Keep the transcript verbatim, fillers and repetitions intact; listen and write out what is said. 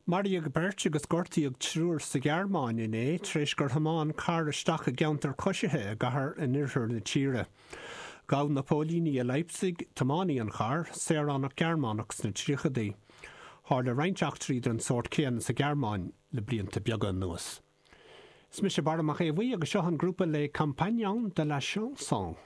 Maraíodh beirt agus gortaíodh triúr sa Ghearmáin inné tar éis gur thiomáin carr isteach i gceantar coisithe i gcathair in oirthear na tíre. Ghabh na póilíní i Leipzig tiománaí an chairr, saoránach Gearmánach sna tríochaidí. Tharla roinnt eachtraí den sórt céanna sa Ghearmáin le blianta beaga anuas. Is mise Barra Mac Aodha Bhuí agus seo an grúpa Les Compagnons de la Chanson.